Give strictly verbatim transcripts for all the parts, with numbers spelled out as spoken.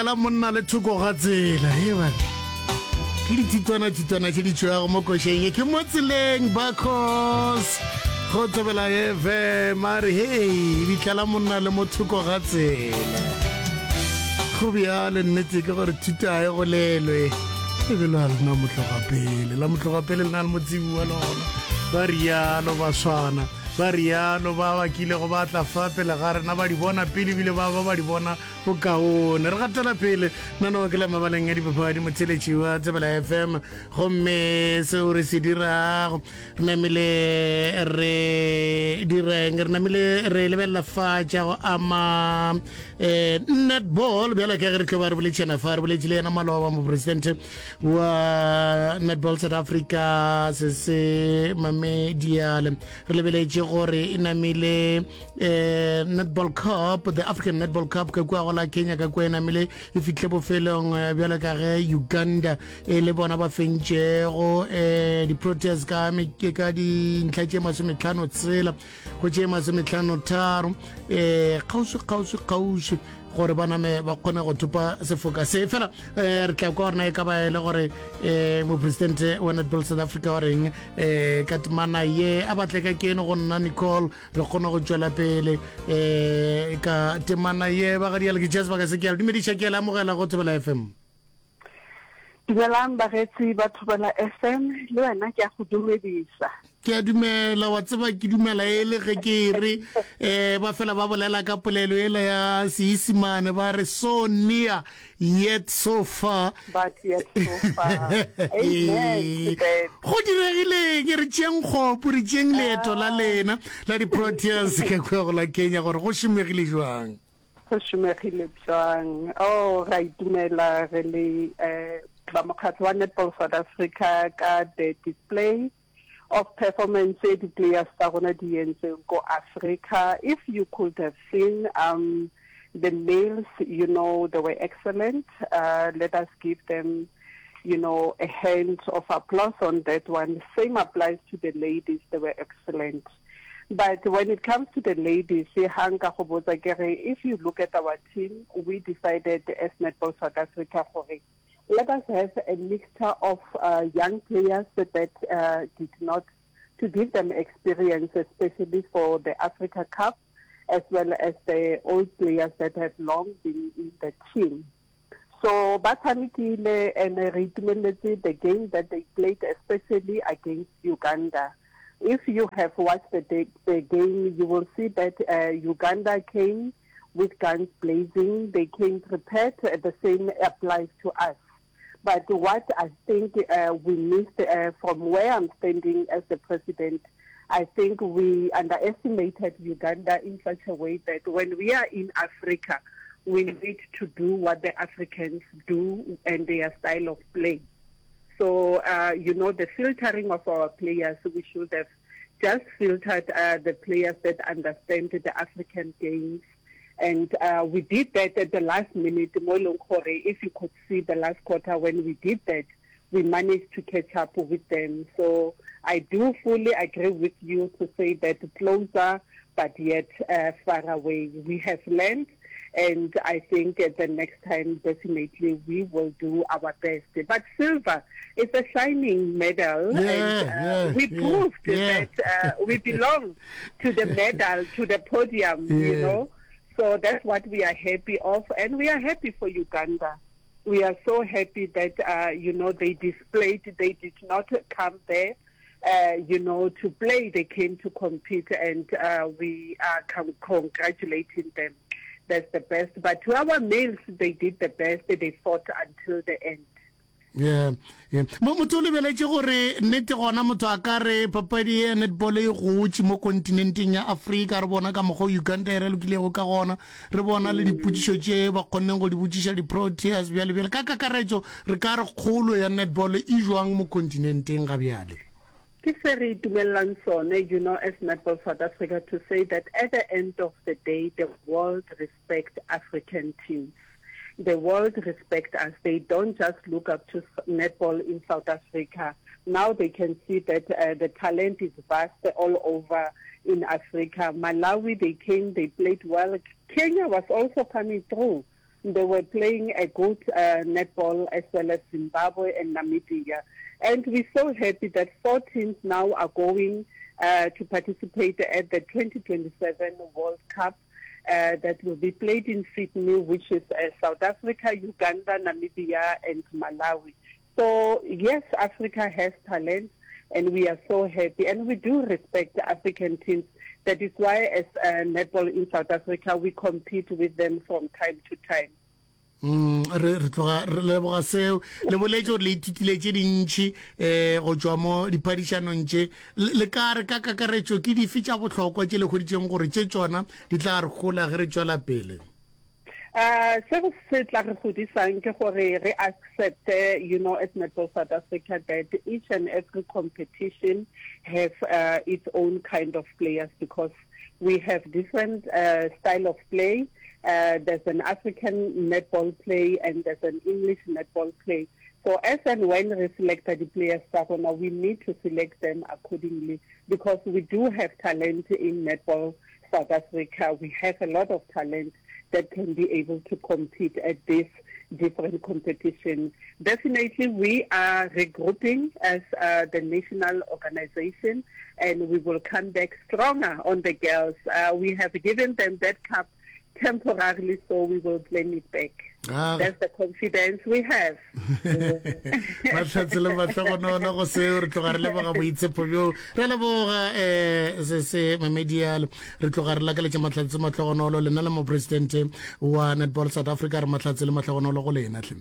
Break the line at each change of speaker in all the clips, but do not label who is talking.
La monna le thoko ga tsela e bana ke dithutwana-thutwana tše di tšwago mo košeng ye ke mo tseleng bacos go thobela fm a re hei ditlela monna le mo thoko ga tsela go bjale nnete ke gore thuto a e golelwe lebelo a lena motloga pele la motloga pele le na le motsebi wa lona ba rialo ba swana ba rialo ba ba kilego ba tla fa pele ga rena ba di bona pele ebile ba ba ba di bona bokaone re gatela pele nano ke la mabaleng a dipapadi motheletši wa tsebela fm gomme seo re se dirago re namile re direng re namile re lebelela fa tša go ama um netball bjalo ka ge re tlo ba re boletšana fa re boletše le yena maloba mopresidente wa netball south africa se se mamediale re lebeletše gore e namile um netball cup the african netball cup ka kua go la kenya ka kua e namile e fitlhe bofelong eh, bjalo ka ge uganda e le bona ba fentšego um di-proteas ka ka dintlha tše masometlhano tshela go tše masometlhano tharo um kgauswi kgauswi kgauswi gore ba name ba kgone go thopa sefoka se fela um re tla kwa gorena e ka ba e le gore um mopresidente wa netball south africa wa reng um ka temana ye a batle ka keno go nna nicole re kgone go tšwela pele um ka temana ye ba gadiale ke tšea sebaka se ke a le dumediša ke a le amogela go thobela fm
dumelang baretsi ba thobela fm le wena ke a go dumedisa
ke a dumela wa tseba ke dumela e le ge ke re um ba fela ba bolela ka polelo ela ya seisimane ba re so near yet so far
but yet so far amen
go diregileng re tšeeng kgopo re tšeeng leeto la lena la di-proteas ka kua go la kenya gore go šomegile jwang
go šomegile bjang oh ra itumela re le um ba mokgatlo wa netball south africa ka the display of performance e di-players tsa rona di entseng ko africa if you could have seen um the males you know they were excellent uh, let us give them you know a hand of applause on that one same applies to the ladies they were excellent but when it comes to the ladies ha nka go botsa ke re if you look at our team we decided as netball south africa gore let us have a mixture of uh, young players that uh, did not to give them experience especially for the Africa Cup as well as the old players that have long been in the team so ba tshamekile and re itumeletse the game that they played especially against Uganda if you have watched the, the game you will see that uh, Uganda came with guns blazing they came prepared the same applies to us but what I think uh, we missed uh, from where I'm standing as the president, I think we underestimated Uganda in such a way that when we are in Africa, we need to do what the Africans do and their style of play. So, uh, you know, the filtering of our players, we should have just filtered uh, the players that understand the African games. And uh, we did that at the last minute. Mo e leng gore, if you could see the last quarter when we did that, we managed to catch up with them. So I do fully agree with you to say that closer, but yet uh, far away. We have learned, and I think at the next time, definitely we will do our best. But silver is a shining medal,
Yeah,
and uh,
yeah,
we
yeah,
proved
yeah.
that uh, we belong to the medal, to the podium, you
Yeah.
know. So that's what we are happy of, and we are happy for Uganda. We are so happy that, uh, you know, they displayed, they did not come there, uh, you know, to play. They came to compete, and uh, we are com- congratulating them. That's the best. But to our males, they did the best. They fought until the end.
yeah yeah mo motho o lebeletše gore nnete gona motho a ka re papadi ya netball e gotše mo kontinenteng ya afrika re bona ka mokgwa uganda e re lokilego ka gona re bona le dipotšišo tše ba kgonneng go di botšiša di-proteas bjale bjale ka kakaretšo re ka re kgolo ya netball e jwang mo kontinenteng ga bjale
ke se re itumellang sone you know as netball south africa to say that at the end of the day the world respect african teams the world respect us they don't just look up to netball in south africa now they can see that uh, the talent is vast all over in africa malawi they came they played well kenya was also coming through They were playing a good uh, netball as well as Zimbabwe and Namibia. And we're so happy that four teams now are going uh, to participate at the twenty twenty-seven World Cup uh, that will be played in Sydney, which is uh, South Africa, Uganda, Namibia, and Malawi. So, yes, Africa has talent, and we are so happy. And we do respect the African teams. That is why, as uh, netball in South Africa, we compete with them from time to time.
Mm, re re tloga re leboga seo le boletše gore le ithutile tše dintšhi um go tšwa mo diphadišanong tše. Le ka re ka kakaretšo ke dife tša bohlokwa tše le hweditšeng gore tše tšona di tla re hola ge re tšwela pele?
Uh, se se tla re godisang ke gore re accepte, you know, as Netball South Africa, that each and every competition has uh, its own kind of players, because we have different uh, style of play. Uh, there's an African netball play and there's an English netball play. So as and when we select the players, we need to select them accordingly, because we do have talent in Netball South Africa. We have a lot of talent that can be able to compete at this different competition. Definitely we are regrouping as uh, the national organization, and we will come back stronger on the girls. Uh, we have given them that cup temporarily, so we will claim it back. Ah. That's the confidence we have.
Mahlatse le mahlogonono go seo, re tloga re leboga boitshepo bjo, re leboga um se se memedialo, re tloga re lakaletša mahlatse mahlogonolo lena le mopresidente wa Netball South Africa. Re mahlatse le mahlogonolo go lena tlhe.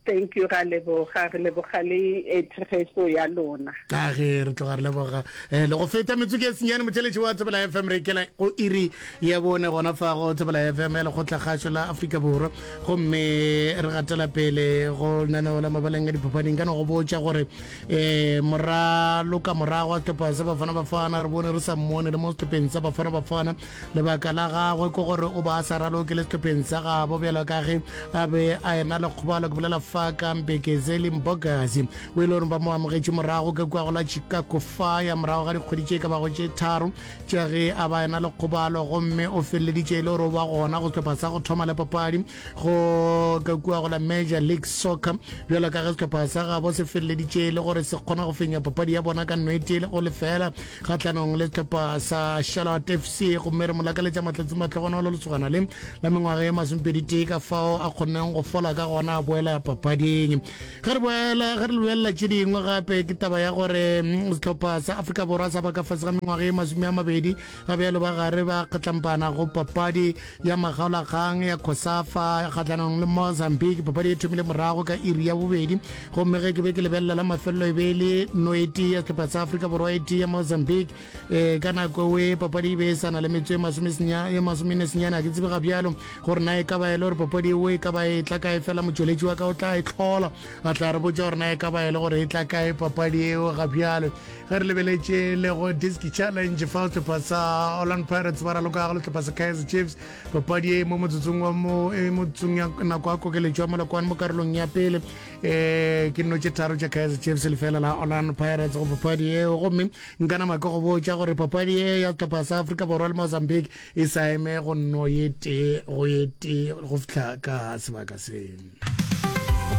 Thank you, ra leboga, re leboga le tshegetso ya lona.
Ka ge re tloga re leboga um le go feta metsotso e senyane motheletši wa Thobela F M, re ikela go iri ya bone gona fa go Thobela F M ya Lekgotlakgašo la Afrika Borwa, gomme re gatela pele go lenaneo la mabaleng a diphapaning. Ka no go botša gore um moraloka morago wa sehlopha sa Bafana Bafana re bone re sa mmone le mo sehlopheng sa Bafana Bafana. Lebaka la gagwe ke gore o ba a sa raloke le sehlopheng sa gabo bjalo ka ge a be a ena le kgobalo. Ke bolela fa ka Mbekezeli Mbokazi, o ile gore ba mo amogetše morago ka kua go la Chicago Fire morago ga dikgwedi tše ka bago tše tharo tša ge a ba ena le kgobalo, gomme o feleleditše e le gore o ba gona go sehlopha sa go thoma le papadi go ka kua go la Major League Soccer, bjalo ka ge sehlopha sa gabo se feleleditše e le gore se kgona go fenya papadi ya bona ka nno e tee go lefela kgatlhanong le sehlopha sa Charlotte F C. Gomme re mo lakaletša mahlatse mahlogonolo lesogana le la mengwaga ye masomepedi tee ka fao a kgonneng go fola ka gona a boela papading. Ge re boela ge re lebelela tše dingwe gape, ke taba ya gore sehlopha sa Afrika Borwa sa ba ka fase ga mengwaga ye masome a mabedi ga bjalo ba gare ba kgatlampana go papadi ya makgaolakgang ya COSAFA kgatlhanong le Mozambique. Papadi e thomile morago ka iri ya bobedi, gomme ge ke be ke lebelela la mafelelo e be e le no e tee ya sehlopha sa Afrika Borwa e tee ya Mozambique. Um ka nako e papadi e be e sa na le metso e masomene senyane. A ke tsebe ga bjalo gore na e ka ba e le gore papadi eo e ka ba e tla kae, fela motšweletši wa ka o tla e tlhola a tla re botša gore na e ka ba e le gore e tla kae papadi eo ga bjalo. Ge re lebeletše le go Disc Challenge fa sehlopha sa Orlando Pirates ba raloka go le sehlopha sa Kaizer Chiefs, papadi e mo motsotsong wa mo e motsotsong ya nako ya kokeletšo ya molokwane mo karolong ya pele um ke nno tše tharo tša Kaizer Chiefs lefela la Orlando Pirates go papadi eo. Gomme nka nama ke go botša gore papadi e ya sehlopha sa Afrika Borwa le Mozambique e sa eme go nno ye tee go ye tee go fihla ka sebaka se.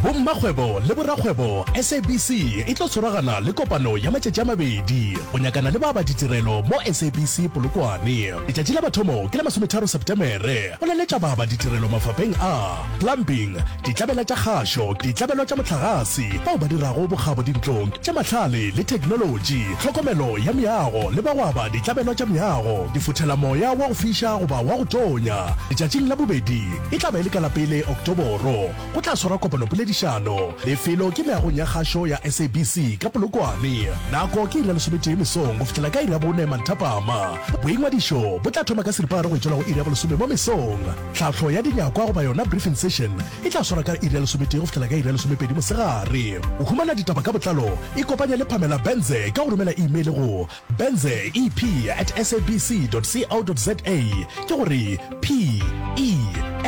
Bommakgwebo le borakgwebo, S A B C e tlo tshwaragana le kopano ya matšatši a mabedi go nyakana le ba ba ditirelo mo S A B C Polokwane. Letšatši la mathomo ke la masometharo Setemere go laletša ba ba ditirelo mafapeng a plumbing, ditlabela tša kgašo, ditlabelo tša mohlagase, bao ba dirago bokgabo dintlong tša mahlale le theknolotši, tlhokomelo ya meago le ba go aba ditlabelo tša meago, difothelamoya wa go fiša goba wa go tonya. Letšatšing la bobedi e tla ba e le ka la pele Oktoboro go tla swarwa kopano poledišano. Lefelo ke meagong ya kgašo ya S A B C ka Polokwane. Nako ke iri ya lesometee mesong go fihlela ka iri ya bone manthapama. Boingwadišo bo tla thoma ka seripagare go tšwela go iri ya bolesome mo mesong. Tlhahlo ya dinyakwa goba yona briefing session e tla swarwa ka iri ya lesometee go fihlela ka iri ya lesomepedi mosegare. Go humana ditaba ka botlalo, ikopanye le Pamela Benze ka go romela email go benze e p at sabc dot co dot za, ke gore P E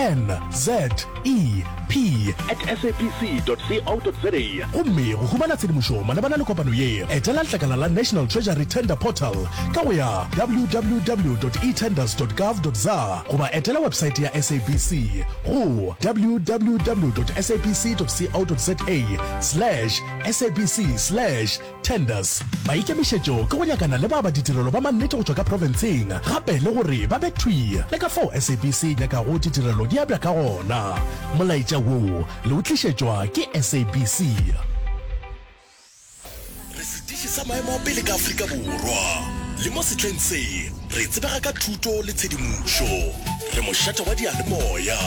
N Z E P at sabc dot co dot za gomme go humana tshedimošo malebana le kopano ye, etela letlakala la National Treasury Tender Portal ka go ya www dot etenders dot gov dot za goba etela websaete ya SABC go www dot sabc dot co dot za slash sabc slash Tenders. Maikemišetšo ke go nyakana le ba ba ditirelo ba mannete go tšwa ka profenseng gape le gore ba be thwi le ka fao SABC e nyakago ditirelo di abja ka gona. Molaetša wo le o tlišetšwa ke SABC. Re setiši sa maemo a pele ka Afrika Borwa, le mo sehleng se re tsebega ka thuto le tshedimošo. Re mošate wa diyalemoya.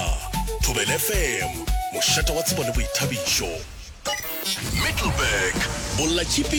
Thobela FM, mošate wa tsebo le boithabišo. Middelburg, Bollatšhipi